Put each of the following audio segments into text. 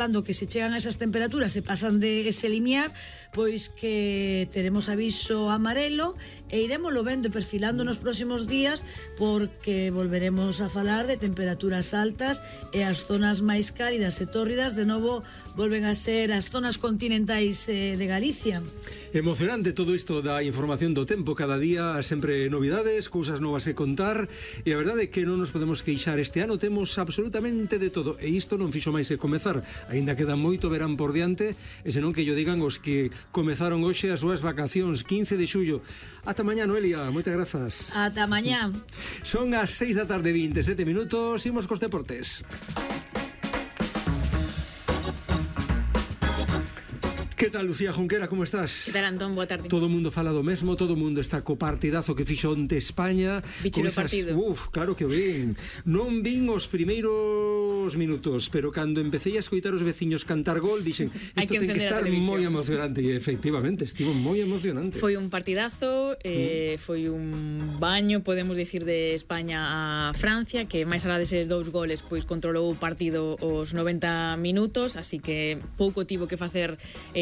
cando que se chegan a esas temperaturas se pasan de ese limiar, pois que teremos aviso amarelo e iremoslo vendo e perfilando nos próximos días, porque volveremos a falar de temperaturas altas e as zonas máis cálidas e tórridas de novo volven a ser as zonas continentais de Galicia. Emocionante todo isto da información do tempo, cada día sempre novidades, cousas novas que contar, e a verdade é que non nos podemos queixar. Este ano temos absolutamente de todo, e isto non fixo máis que comezar. Aínda queda moito verán por diante, e senón que yo digan os que comezaron hoxe as súas vacacións, 15 de xullo. Ata mañá, Noelia, moitas grazas. Ata mañá. Son as 6 da tarde, 27 minutos, imos cos deportes. Que tal, Lucía Junquera, como estás? Que tal, Antón? Boa tarde. Todo o mundo fala do mesmo, todo o mundo está co partidazo que fixo onte España. Bicho no partido. Claro que o vin. Non vin os primeiros minutos, pero cando empecé a escoitar os veciños cantar gol, dixen, isto ten que estar moi emocionante, e efectivamente, estivo moi emocionante. Foi un partidazo, foi un baño, podemos dicir, de España a Francia, que máis alá deses 2 goles, pois controlou o partido os 90 minutos, así que pouco tivo que facer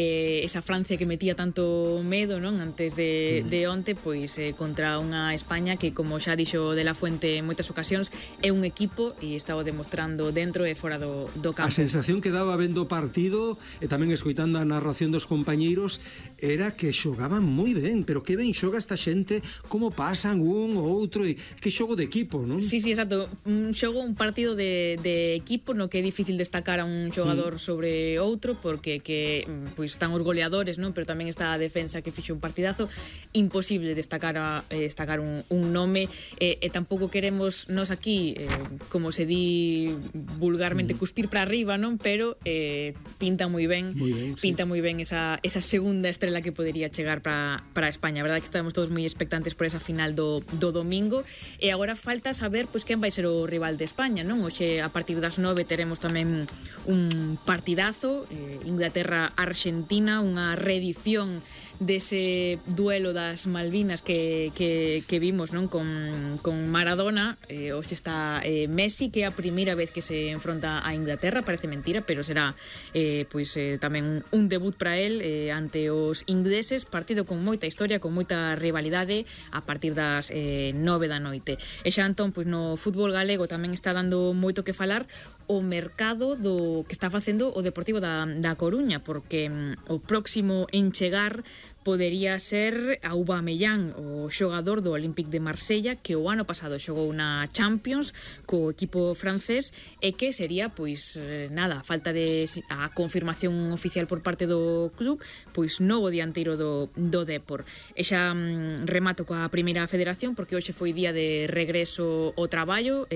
esa Francia que metía tanto medo, non, antes de onte, pois contra unha España que, como xa dixo De La Fuente en moitas ocasións, é un equipo e estaba demostrando dentro e fora do campo. A sensación que daba vendo o partido e tamén escoitando a narración dos compañeiros era que xogaban moi ben, pero que ben xoga esta xente, como pasan un ou outro, e que xogo de equipo, non? Sí, exacto, un partido de equipo no que é difícil destacar a un xogador sobre outro, porque que pois están os goleadores, non? Pero tamén está a defensa que fixo un partidazo. Imposible destacar un nome, e tampouco queremos nos aquí, como se di vulgarmente, cuspir para arriba, non? Pero pinta moi ben, pinta moi ben esa segunda estrela que podería chegar para España. A verdade é que estamos todos moi expectantes por esa final do domingo, e agora falta saber pois quen vai ser o rival de España, non? Hoxe a partir das 9 teremos tamén un partidazo, Inglaterra-Argentina, unha reedición dese duelo das Malvinas que vimos, non, con Maradona. Hoxe está Messi, que é a primeira vez que se enfronta a Inglaterra, parece mentira, pero será tamén un debut para él ante os ingleses. Partido con moita historia, con moita rivalidade, a partir das 9 da noite. E xa, Antón, pois no fútbol galego tamén está dando moito que falar o mercado do que está facendo o Deportivo da Coruña, porque o próximo en chegar podería ser Aubameyang, o xogador do Olympique de Marsella, que o ano pasado xogou na Champions co equipo francés, e que sería, pois, nada, a falta de a confirmación oficial por parte do club, pois novo dianteiro do Depor. E xa remato coa primeira federación, porque hoxe foi día de regreso ao traballo,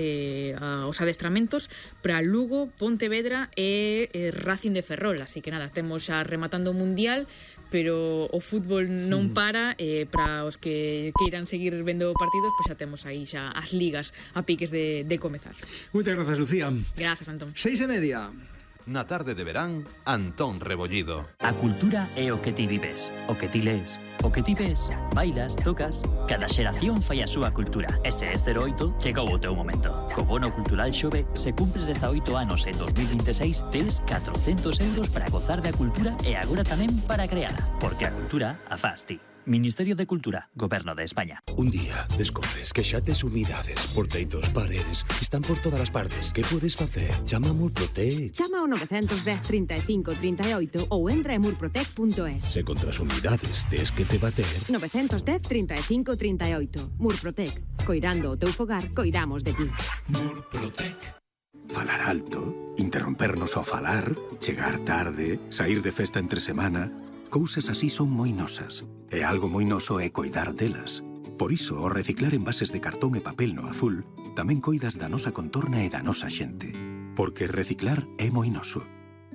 aos adestramentos para Lugo, Pontevedra e Racing de Ferrol. Así que nada, temos xa rematando o Mundial, pero o fútbol non para, para os que queiran seguir vendo partidos, pois xa temos aí xa as ligas a piques de comezar. Moitas grazas, Lucía. Grazas, Antón. 6:30. Na tarde de verán, Antón Rebollido. A cultura é o que ti vives, o que ti lees, o que ti ves, bailas, tocas. Cada xeración fai a súa cultura. Ese é 08, chegou o teu momento. Co bono cultural Xove, se cumpres 18 anos en 2026, tes 400 euros para gozar da cultura e agora tamén para creala. Porque a cultura a faz ti. Ministerio de Cultura, Goberno de España. Un día descobres que xa tes humidades, porteitos, paredes, están por todas as partes. Que podes facer? Chama a Murprotec. Chama ao 910 35 38 ou entra en murprotec.es. Se contra as humidades tes que te bater. 910 35 38. Murprotec. Coirando o teu fogar, coidamos de ti. Murprotec. Falar alto, interrompernos ao falar, chegar tarde, sair de festa entre semana. Cousas así son moi nosas, e algo moi noso é coidar delas. Por iso, ao reciclar envases de cartón e papel no azul, tamén coidas da nosa contorna e da nosa xente. Porque reciclar é moi noso.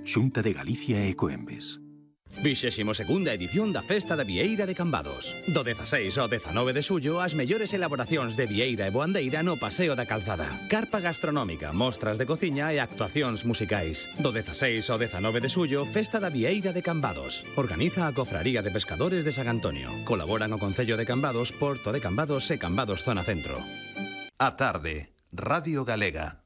Xunta de Galicia e Ecoembes. 22ª edición da Festa da Vieira de Cambados. Do 16 ao 19 de xullo, as mellores elaboracións de vieira e boandeira no Paseo da Calzada. Carpa gastronómica, mostras de cociña e actuacións musicais. Do 16 ao 19 de xullo, Festa da Vieira de Cambados. Organiza a Cofraría de Pescadores de San Antonio. Colaboran o Concello de Cambados, Porto de Cambados e Cambados Zona Centro. A tarde, Radio Galega.